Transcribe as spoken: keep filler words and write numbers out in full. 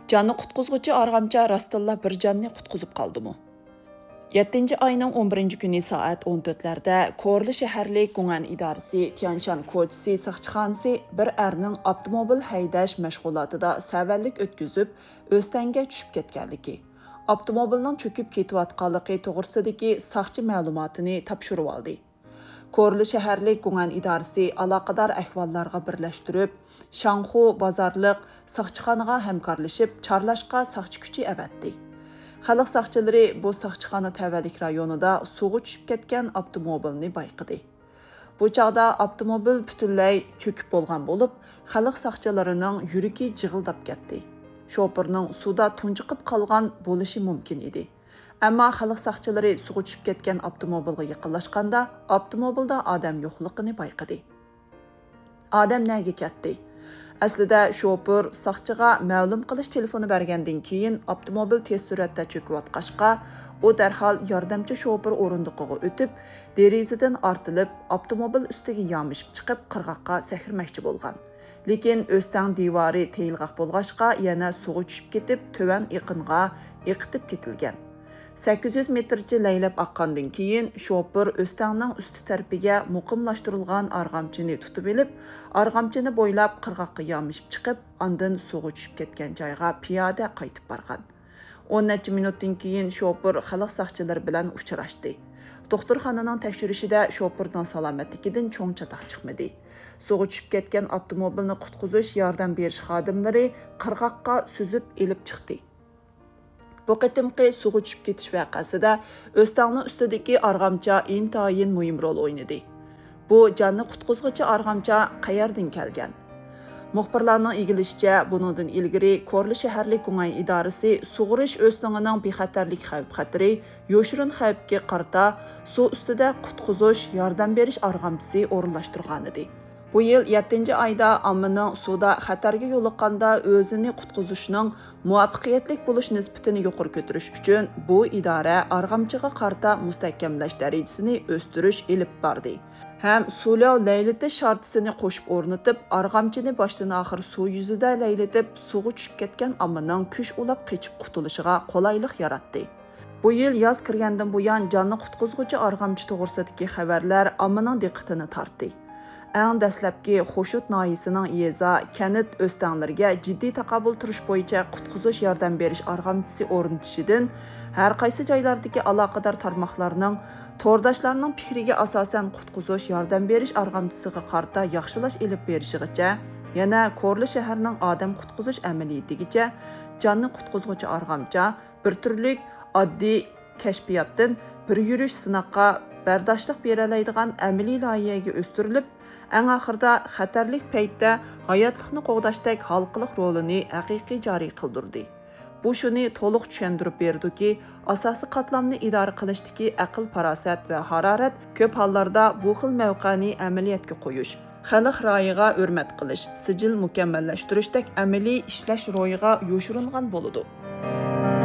جاننى قۇتقۇزغۇچى ئارغامچا راستتىنلا بىر جاننى قۇتقۇزۇپ قالدىمۇ؟ يەتتىنچى ئاينىڭ ئون بىرىنچى كۈنى سائەت ئون تۆتلەردە كورلا شەھەرلىك گۇڭئەن ئىدارىسى تيەنشان كوچىسى ساقچىخانىسى بىر ئەرنىڭ ئاپتوموبىل ھەيدەش مەشغۇلاتىدا سەۋەنلىك ئۆتكۈزۈپ، ئۆستەڭگە چۈشۈپ كەتكەنلىكى، ئاپتوموبىلنىڭ چۆكۈپ كېتىۋاتقانلىقى توغرىسىدىكى ساقچى مەلۇماتىنى تاپشۇرۇۋالدى. كورلا شەھەرلىك گۇڭئەن ئىدارىسى ئالاقىدار ئەھۋاللارغا بىرلەشتۈرۈپ، شاڭخۇ بازارلىق ساقچىخانىغا ھەمكارلىشىپ، چارلاشقا ساقچى كۈچى ئەۋەتتى. خەلق ساقچىلىرى بۇ ساقچىخانا تەۋەلىك رايونىدا سۇغا چۈشۈپ كەتكەن ئاپتوموبىلنى بايقىدى. بۇ چاغدا ئاپتوموبىل پۈتۈنلەي چۆكۈپ بولغان بولۇپ، خەلق ساقچىلىرىنىڭ يۈرىكى جىغىلداپ كەتتى. شوپۇرنىڭ سۇدا تۇنجۇقۇپ قالغان بولۇشى مۇمكىن ئىدى. ئەمما خەلق ساقچىلىرى سۇغا چۈشۈپ كەتكەن ئاپتوموبىلغا يېقىنلاشقاندا، ئاپتوموبىلدا ئادەم يوقلۇقىنى بايقىدى. ئادەم نەگە كەتتى؟ ئەسلىدە شوپۇر ساقچىغا مەلۇم قىلىش تېلېفونى بەرگەندىن كېيىن، ئاپتوموبىل تېز سۈرئەتتە چۆكۈۋاتقاچقا، ئۇ دەرھال ياردەمچى شوپۇر ئورۇندۇقىغا ئۆتۈپ، دېرىزىدىن ئارتىلىپ، ئاپتوموبىل ئۈستىگە يامىشىپ چىقىپ، قىرغاققا سەكرىمەكچى بولغان. لېكىن ئۆستەڭ دىۋارى تېيىلغاق بولغاچقا، يەنە سۇغا چۈشۈپ كېتىپ، تۆۋەن ئېقىنغا ئېقىتىپ كېتىلگەن. سەككىز يۈز مېتىرچە لەيلەپ ئاققاندىن كېيىن، شوپۇر ئۆستەڭنىڭ ئۈستى تەرىپىگە مۇقىملاشتۇرۇلغان ئارغامچىنى تۇتۇۋېلىپ، ئارغامچىنى بويلاپ قىرغاققا يامىشىپ چىقىپ، ئاندىن سۇغا چۈشۈپ كەتكەن جايغا پىيادە قايتىپ بارغان. ئون نەچچە مىنۇتتىن كېيىن شوپۇر خەلق ساقچىلىرى بىلەن ئۇچراشتى. دوختۇرخانىنىڭ تەكشۈرۈشىدە شوپۇرنىڭ سالامەتلىكىدىن چوڭ چاتاق چىقمىدى. سۇغا چۈشۈپ كەتكەن ئاپتوموبىلنى قۇتقۇزۇش ياردەم بېرىش خادىملىرى قىرغاققا سۈزۈپ ئېلىپ چىقتى. بۇ قېتىمقى سۇغا چۈشۈپ كېتىش ۋەقەسىدە ئۆستەڭنىڭ ئۈستىدىكى ئارغامچا ئىنتايىن مۇھىم رول ئوينىدى. بۇ جاننى قۇتقۇزغۇچى ئارغامچا قەيەردىن كەلگەن؟ مۇخبىرلارنىڭ ئىگىلىشىچە، بۇنىڭدىن ئىلگىرى كورلا شەھەرلىك گۇڭئەن ئىدارىسى سۇغىرىش ئۆستىڭىنىڭ بىخەتەرلىك خەۋپ-خەتىرى، يوشۇرۇن خەۋپكە قارىتا سۇ ئۈستىدە قۇتقۇزۇش، ياردەم بېرىش ئارغامچىسى ئورۇنلاشتۇرغانىدى. بۇ يىل يەتتىنچى ئايدا ئاممىنىڭ سۇدا خەتەرگە يولۇققاندا ئۆزىنى قۇتقۇزۇشنىڭ مۇۋەپپەقىيەتلىك بولۇش نىسبىتىنى يۇقىرى كۆتۈرۈش ئۈچۈن، بۇ ئىدارە ئارغامچىغا قارىتا مۇستەھكەملەش دەرىجىسىنى ئۆستۈرۈش ئېلىپ باردى ھەم سۇلياۋ لەيلىتىش شارتىسىنى قوشۇپ ئورنىتىپ، ئارغامچىنى باشتىن-ئاخىر سۇ يۈزىدە لەيلىتىپ، سۇغا چۈشۈپ كەتكەن ئاممىنىڭ كۈچ ئۇلاپ قېچىپ قۇتۇلۇشىغا قولايلىق ياراتتى. بۇ يىل ياز كىرگەندىن بۇيان، جاننى قۇتقۇزغۇچى ئارغامچا توغرىسىدىكى خەۋەرلەر ئاممىنىڭ دىققىتىنى تارتتى. ئەڭ دەسلەپكى خوشۇت ناھىيەسىنىڭ يېزا، كەنت ئۆستەڭلىرىگە جىددىي تاقابىل تۇرۇش بويىچە قۇتقۇزۇش ياردەم بېرىش ئارغامچىسى ئورنىتىشىدىن، ھەر قايسى جايلاردىكى ئالاقىدار تارماقلارنىڭ تورداشلارنىڭ پىكرىگە ئاساسەن، قۇتقۇزۇش ياردەم بېرىش ئارغامچىسىغا قارىتا ياخشىلاش ئېلىپ بېرىشىغىچە، يەنە كورلا شەھىرىنىڭ ئادەم قۇتقۇزۇش ئەمەلىيىتىگىچە جاننى قۇتقۇزغۇچى ئارغامچا بىر تۈرلۈك ئاددىي كەشپىياتتىن بىر يۈرۈش سىناققا بەرداشلىق بېرەلەيدىغان ئەمەلىي لايىھەگە ئۆستۈرۈلۈپ، ئەڭ ئاخىرىدا خەتەرلىك پەيتتە ھاياتلىقنى قوغداشتەك ھالقىلىق رولىنى ھەقىقىي جارى قىلدۇردى. بۇ شۇنى تولۇق چۈشەندۈرۈپ بېرىدۇكى، ئاساسىي قاتلامنى ئىدارە قىلىشتىكى ئەقىل-پاراسەت ۋە ھارارەت كۆپ ھاللاردا بۇ خىل مەۋقەنى ئەمەلىيەتكە قويۇش، خەلق رايىغا ھۆرمەت قىلىش، سىجىل مۇكەممەللەشتۈرۈشتەك ئەمەلىي ئىشلەش روھىغا يوشۇرۇنغان بولىدۇ.